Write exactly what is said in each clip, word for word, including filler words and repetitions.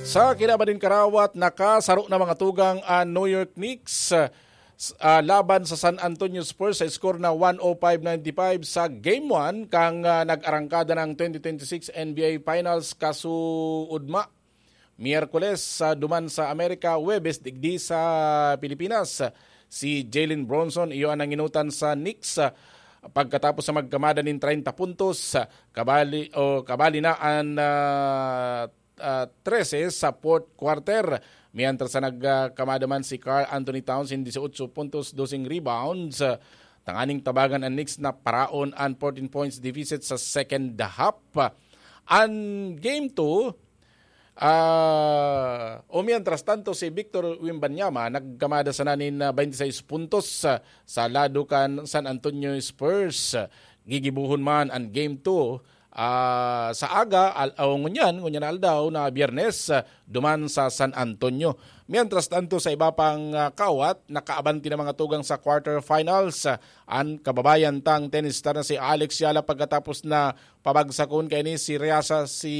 Sa kinaban nin karawat, nakasaro na mga tugang an New York Knicks, ah, laban sa San Antonio Spurs sa score na one oh five ninety-five sa Game one kang, ah, nag-arangkada ng twenty twenty-six N B A Finals kasuodma. Miyerkules, ah, duman sa Amerika, Huwebes digdi sa Pilipinas. Si Jalen Brunson, iyo an nanginutan sa Knicks, ah, pagkatapos na magkamada nin treinta puntos, ah, kabali, o kabali na an, ah, ah, trese sa fourth quarter. Mientras na nagkamada man si Karl Anthony Towns nin dieciocho puntos, doseng rebounds, ah, tanganing tabangan an Knicks na paraon an fourteen points deficit sa second half. An Game two, ah, o mientras tanto, si Victor Wembanyama nagkamada sana nin, ah, twenty-six puntos, ah, sa lado kan San Antonio Spurs. Gigibohon man an Game two, ah, sa aga, al-, o ngunyan, ngunyan na aldaw na Biyernes, ah, duman sa San Antonio. Mientras tanto, sa iba pang, ah, kawat, nakaabanti na mga tugang sa quarterfinals, ah, an kababayan tang tennis star na si Alex Yala pagkatapos na pabagsakon kaini si Riasa, si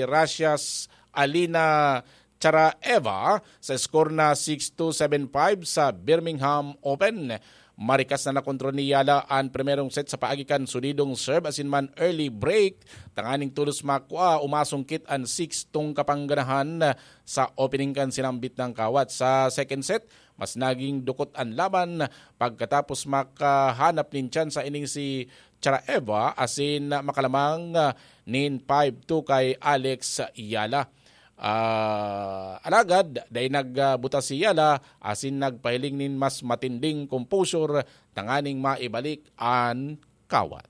Russia's Alina Charaeva sa score na six two, seven five sa Birmingham Open. Marikas na nakontrol ni Yala an primerong set sa paagi kan solidong serve asin man early break, tanganing tolos makua o masungkit an six tong kapangganahan sa opening kan sinambit nang kawat. Sa second set, mas naging dukot an laban pagkatapos makahanap nin tsansa ining si Charaeva asin makalamang, ah, nin five two kay Alex Yala. Ah, alagad, dai nagbuta si Yala asin nagpahiling nin mas matinding composure tanganing maibalik an kawat.